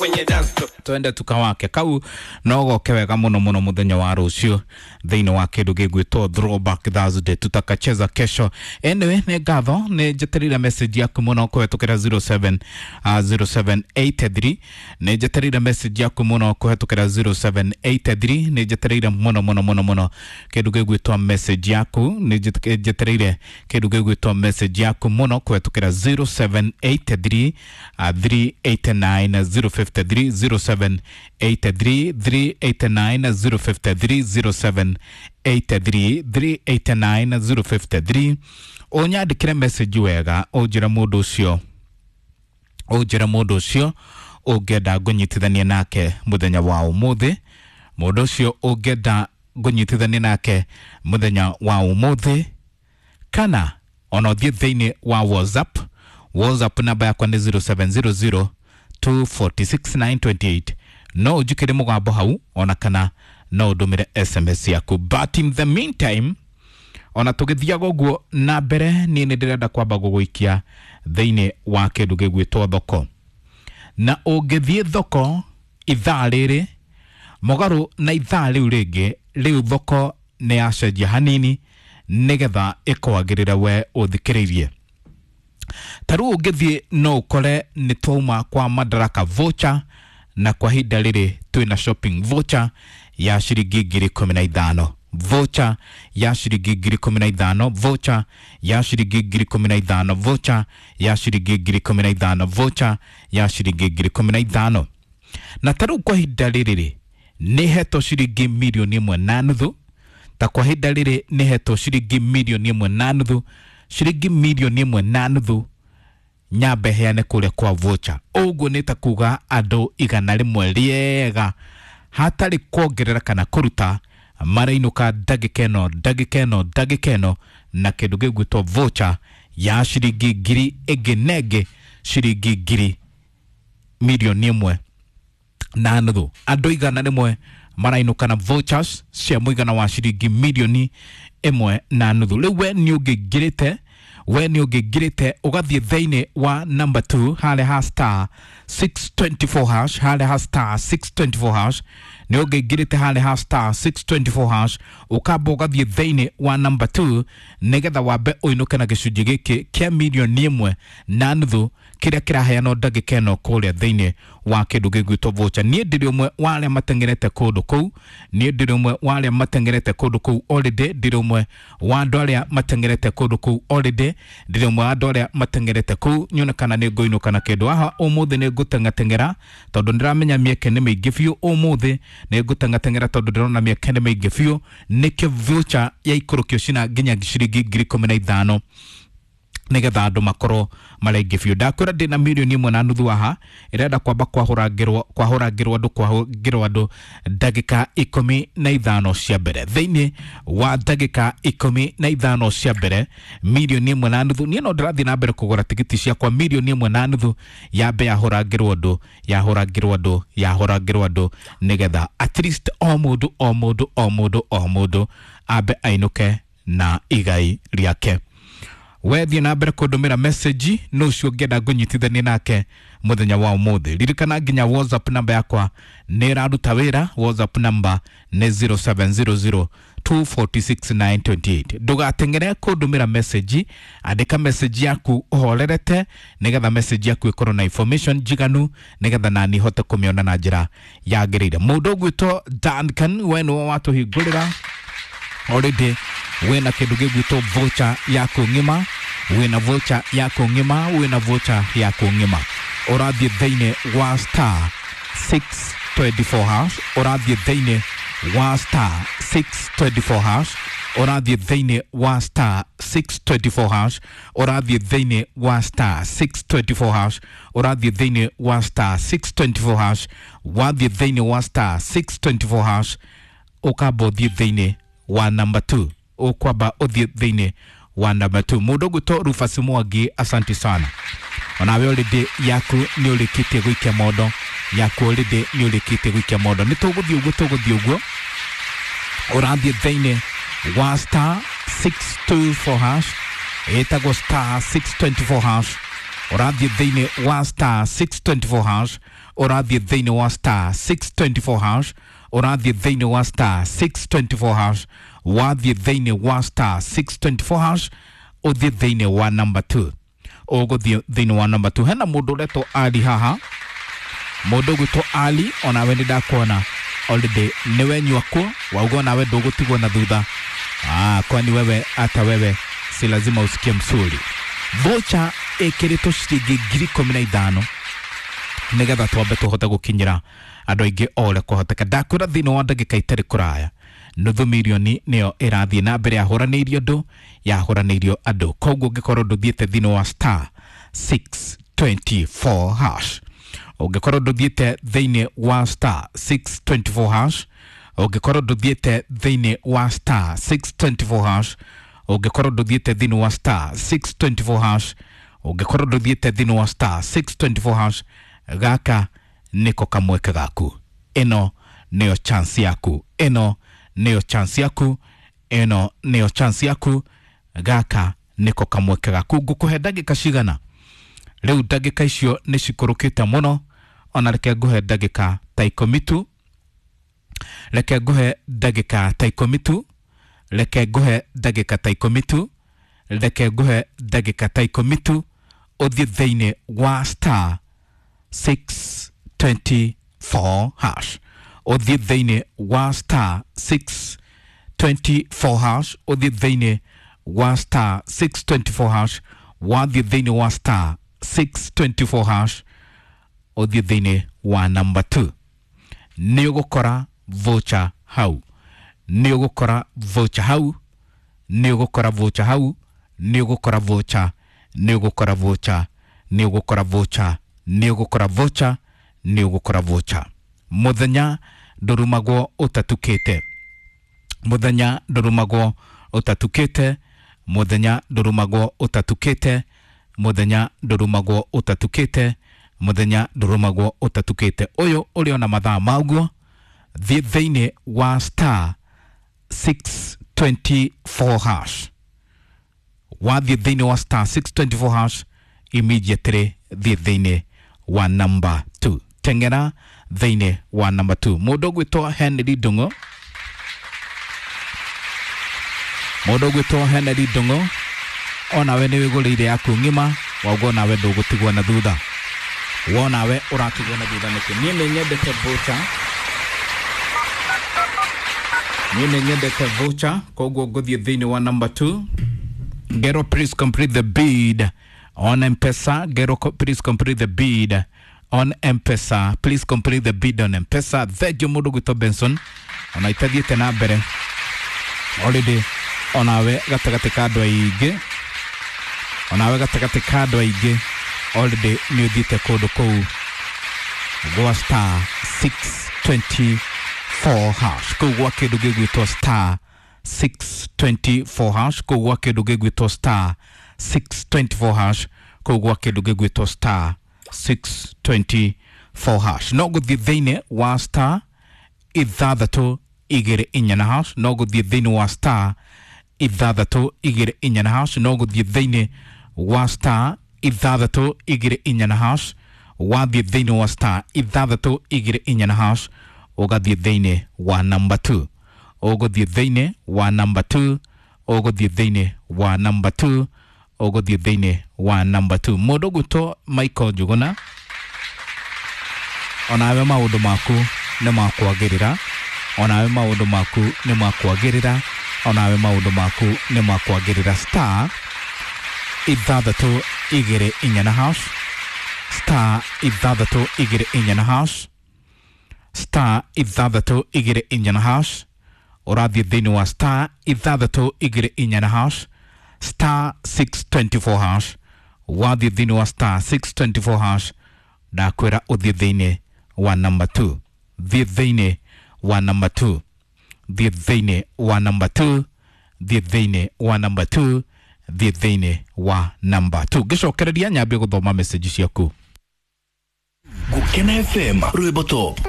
Kwenye dance floor. Twende tukawake kau no goke wega muno muno muthenya wa rucio thiini wa kindu gigwitwo Throwback Thursday, tutakacheza kesho. Anyway, nĩ ngatho nĩ njeterire message yaku muno kũhetũkĩra 07 0783, nĩ njeterire message yaku muno kũhetũkĩra 0783, nĩ njetereire muno muno muno muno kindu gigwitwo message yaku, nĩ njetereire kindu gigwitwo message yaku muno kũhetũkĩra 0783 389 053, 0783 389 053, 0783 389 053. Ũnyandĩkĩre message wega, ũnjĩre mũndũ ũcio, ũnjĩre mũndũ ũcio ũngĩenda ngũnyitithanie nake mũthenya wa ũmũthĩ, mũndũ ũcio ũngĩenda ngũnyitithanie nake mũthenya wa ũmũthĩ, kana ona ũthiĩ thĩinĩ wa WhatsApp. WhatsApp namba yakwa nĩ 0700 246928. No ũnjĩkĩre mũgambo hau ona kana no ũndũmĩre SMS yaku. But in the meantime, ona tũgĩthiaga ũguo na mbere, niĩ nĩ ndĩrenda kwamba gũgũikia thĩinĩ wa kĩndũ gĩgwĩtwo thoko. Na ũngĩthiĩ thoko ithaa rĩrĩ mũgarũ na ithaa rĩu rĩngĩ, rĩu thoko nĩ yacenjia hanini nĩgetha ĩkwagĩrĩre we ũthikĩrĩirie. Ta rĩu ũngĩthiĩ no ũkore nĩ twauma kwa Madaraka voucher, na kwa ihinda rĩrĩ twĩna shopping voucher ya ciringi 15,000, voucher ya ciringi 15,000, voucher ya ciringi 15,000, voucher ya ciringi 15,000, voucher ya ciringi 15,000. Na ta rĩu kwa ihinda rĩrĩ rĩ, nĩ hetwo ciringi 1.5 mirioni. Ta kwa ihinda rĩrĩ nĩ hetwo ciringi 1.5 mirioni, ciringi 1.5 mirioni nyambe heane kũrĩa kwa voucher. Ũguo nĩ ta kuga andũ 100 rĩega hatarĩ kuongerera kana kũruta marainũka ndagĩka ĩno, ndagĩka ĩno, ndagĩka ĩno na kĩndũ gĩgwĩtwo voucher ya ciringi ngiri ĩngĩ na ĩngĩ, ciringi ngiri 1.5 mirioni. Andũ 100 marainũka na vouchers cia mũigana wa ciringi 1.5 mirioni. Rĩu we nĩ ũngĩingĩrĩte, we nĩ ũngĩingĩrĩte ũgathiĩ thĩinĩ wa number 2 harĩa ha star 624 hash, harĩa ha star 624 hash, nĩ ũngĩingĩrĩte harĩa ha star 624 hash, ũkamba ũgathiĩ thĩinĩ wa number 2 nĩgetha wambe ũinũke na gĩcunjĩ gĩkĩ kĩa 1.5 mirioni kĩrĩa kĩraheanwo ndagĩka ĩno kũrĩa thĩinĩ wa kĩndũ gĩgwĩtwo voucher. Niĩ ndĩrĩ ũmwe wa arĩa mateng'erete kũndũ kũu, niĩ ndĩrĩ ũmwe wa arĩa mateng'erete kũndũ kũu already, ndĩrĩ ũmwe wa andũ arĩa mateng'erete kũndũ kũu already, ndĩrĩ ũmwe wa andũ arĩa mateng'erete kũu nyone kana nĩ ngũinũka na kĩndũ haha ũmũthĩ. Nĩ ngũteng'ateng'era tondũ ndĩramenya mĩeke nĩ mĩingĩ biũ. Ũmũthĩ nĩ ngũteng'ateng'era tondũ ndĩrona mĩeke nĩ mĩingĩ biũ, nĩkĩo voucher yaikũrũkio cina nginya ciringi 15,000 nigetha andũ makorwo marĩ aingĩ biũ. Ndakwĩra ndĩna 1.5 mirioni haha ĩrenda kwamba kwahũrangĩrwo, kwahũrangĩrwo andũ, kwahũrangĩrwo andũ ndagĩka 15 cia mbere. Thĩinĩ wa ndagĩka 15 cia mbere, 1.5 mirioni. Niĩ no ndĩrathiĩ na mbere kũgũra tigiti ciakwa. 1.5 mirioni yambe yahũrangĩrwo andũ, yahũrangĩrwo andũ, yahũrangĩrwo andũ, nĩgetha at least o mũndũ, o mũndũ, o mũndũ, o mũndũ ambe ainũke na igai rĩake. Wethiĩ na mbere kũndũmĩra message no ũcio ũngĩenda ngũnyitithanie nake mũthenya wa ũmũthĩ. Ririkana nginya WhatsApp namba yakwa nĩ ĩraruta wĩra. WhatsApp namba nĩ 0700 246928. Ndũgateng'ere kũndũmĩra message, andĩka message yaku ũhorerete nĩgetha message yaku ĩkorwo na information njiganu nĩgetha nani hote kũmĩona na njĩra yagĩrĩire. Mũndũ ũgwĩtwo Duncan, we nĩwe watũhingũrĩra already, wĩna kĩndũ gĩgwĩtwo voucher yaku ng'ima, wĩna voucher yaku ng'ima, wĩna voucher yaku ng'ima. Ũrathiĩ thĩinĩ wa star 624 hash, ũrathiĩ thĩinĩ wa star 624 hash, ũrathiĩ thĩinĩ wa star 624 hash, ũrathiĩ thĩinĩ wa star 624 hash, ũrathiĩ thĩinĩ wa star 624 hash. Wathiĩ thĩinĩ wa star 624 hash, ũkamba ũthiĩ thĩinĩ wa number 2, ũkwamba ũthiĩ thĩinĩ wa number 2. Mũndũ ũgwĩtwo Rufus Mwangi, asante sana, onawe already yaku nĩ ũrĩkĩtie gũikia mondo yaku, already nĩ ũrĩkĩtie gũikia mondo. Nĩ tũgũthiĩ ũguo, tũgũthiĩ ũguo. Ũrathiĩ thĩinĩ wa star 624 hash, ĩtagwo star 624 hash. Ũrathiĩ thĩinĩ wa star 624 hash. Ũrathiĩ thĩinĩ wa star 624 hash, ũrathiĩ thĩinĩ wa star 624 hash, wathiĩ thĩinĩ wa star 624 hash, ũthiĩ thĩinĩ wa number 2, ũgũthiĩ thĩinĩ wa number 2. Hena mũndũ ũretwo Ali haha, mũndũ ũgwĩtwo Ali, onawe nĩ ndakuona already nĩwe nyua kuo wauga onawe ndũgũtigwo na thutha. Kwani wewe hata wewe si lazima usikie msuri. Vocha ĩkĩrĩtwo ciringi 15,000 nĩgetha twambe tũhote gũkinyĩra andũ aingĩ o ũrĩa kwahoteka. Ndakwĩra thĩinĩ wa ndagĩka itarĩ kũraya nuthu mirioni nĩyo ĩrathiĩ na mbere yahũranĩirio andũ, yahũranĩirio andũ. Koguo ũngĩkorwo ndũthiĩte thĩinĩ wa star 624 hash, ũngĩkorwo ndũthiĩte thĩinĩ wa star 624 hash, ũngĩkorwo ndũthiĩte thĩinĩ wa star 624 hash, ũngĩkorwo ndũthiĩte thĩinĩ wa star 624 hash, ũngĩkorwo ndũthiĩte thĩinĩ wa star 624 hash, gaka nĩko kamweke gaku. Ĩno nĩyo chance yaku, ĩno nĩyo chance yaku, ĩno nĩyo chance yaku. Gaka nĩko kamweke gaku. Ngũkũhe ndagĩka cigana? Rĩu ndagĩka icio nĩ cikũrũkĩte mũno, ona reke ngũhe ndagĩka ta 10 tu, reke ngũhe ndagĩka ta 10 tu, reke ngũhe ndagĩka ta 10 tu, reke ngũhe ndagĩka ta 10 tu, ũthiĩ thĩinĩ wa star 624 hash, ũthiĩ thĩinĩ wa star 624 hash, ũthiĩ thĩinĩ wa star 624 hash, wathiĩ thĩinĩ wa star 624 hash, ũthiĩ thĩinĩ wa number 2, nĩ ũgũkora voucher hau, nĩ ũgũkora voucher hau, nĩ ũgũkora voucher hau, nĩ ũgũkora voucher, nĩ ũgũkora voucher, nĩ ũgũkora voucher, nĩ ũgũkora voucher, nĩ ũgũkora voucher. Mũthenya ndũrumagwo ũtatukĩte, mũthenya ndũrumagwo ũtatukĩte, mũthenya ndũrumagwo ũtatukĩte, mũthenya ndũrumagwo ũtatukĩte, mũthenya ndũrumagwo ũtatukĩte. Ũyũ ũrĩ ona mathaa maguo, thiĩ thĩinĩ wa star 624 hash, wathiĩ thĩinĩ wa star 624 hash immediately thiĩ thĩinĩ wa number 2, teng'era thĩinĩ wa number 2. Mũndũ ũgwĩtwo Henry Ndung'u, mũndũ ũgwĩtwo Henry Ndung'u, onawe nĩ wĩgũrĩire yaku ng'ima, wauga onawe ndũgũtigwo na thutha, wonawe ũratigwo na thutha nĩkĩ? Niĩ nĩ nyendete voucher, niĩ nĩ nyendete voucher, koguo ngũthiĩ thĩinĩ wa number 2. Gero, please complete the bid on M-Pesa. Gero, please complete the bid on M-Pesa. Please complete the bid on M-Pesa. Thengio mũndũ gwĩtwo Benson, ona itathiĩte na mbere already, onawe gatagatĩ ka andũ aingĩ, onawe gatagatĩ ka andũ aingĩ already nĩ ũthiĩte kũndũ kũu gwa star 624 hash, kũu gwa kĩndũ gĩgwĩtwo star 624 hash, kũu gwa kĩndũ gĩgwĩtwo star 624 hash, kũu gwa kĩndũ gĩgwĩtwo star 624 hash. No gũthiĩ thĩinĩ wa star 624 na hash, no gũthiĩ thĩinĩ wa star 624 na hash, no gũthiĩ thĩinĩ wa star 624 na hash, wathiĩ thĩinĩ wa star 624 na hash, ũgathiĩ thĩinĩ wa number 2, ũgũthiĩ thĩinĩ wa number 2, ũgũthiĩ thĩinĩ wa number 2, ũgũthiĩ thĩinĩ wa number 2. Mũndũ ũgwĩtwo Michael Njuguna, onawe maũndũ maku nĩ makwagĩrĩra, onawe maũndũ maku nĩ makwagĩrĩra, onawe maũndũ maku nĩ makwagĩrĩra. Star 624 na hash, star 624 na hash, star 624 na hash, ũrathiĩ thĩinĩ wa star 624 na hash, star 624 hash, wathiĩ thĩinĩ wa star 624 hash, ndakwĩra ũthiĩ thĩinĩ wa number 2, thiĩ thĩinĩ wa number 2, thiĩ thĩinĩ wa number 2, thiĩ thĩinĩ wa number 2, thiĩ thĩinĩ wa number 2. Ngĩcokereria nyambie gũthoma message ciaku. Gukena FM rwĩmbo top.